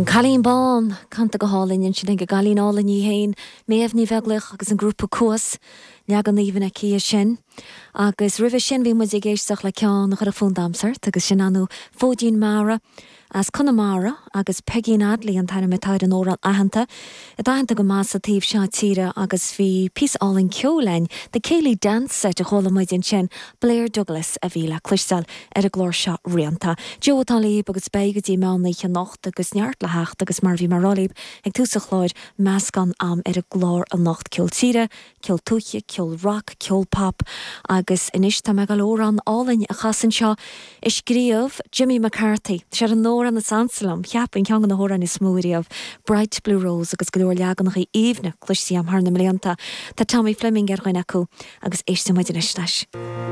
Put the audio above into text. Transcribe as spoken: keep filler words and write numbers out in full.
An Cailín Bán canta go hálainn ansin ag an gcailín álainn í féin, Méabh Ní Bheaglaoich agus an grúpa Cuas leagan aoibhinn aici sin. Agus roimhe sin bhí muid ag éisteacht le ceann a chuir fonn damhsa ort agus sin anu Fóidín Mara as Conamara agus Peigín Adley an t-ainm atá ar an amhrán aitheanta, atá aitheanta go maith sa taobh seo tíre agus bhí píosa álainn ceoil ann The Céilí Dance Set a chuala muid ansin Blair Douglas a bhí le cloisteáil ar an gclár seo rianta. Joe atá libh agus beidh go dtí meán oíche anocht agus neart le theacht agus mar bhí mé ag rá libh ag tús an chláir meascán agam ar an gclár anocht ceol tíre, ceol tuaithe, ceol rock, ceol pop agus anois tá mé ag gabháil amhrán álainn a chasadh anseo a scríobh Jimmy McCarthy. Sé an amhrán is ansa liom, cheapfainn ceann de na hamhráin is mó riamh, Bright Blue Rose agus go leor leaganacha aoibhne cloiste agam thar na mblianta. Tá Tommy Fleming ar dhuine acu agus éistfidh muid anois leis.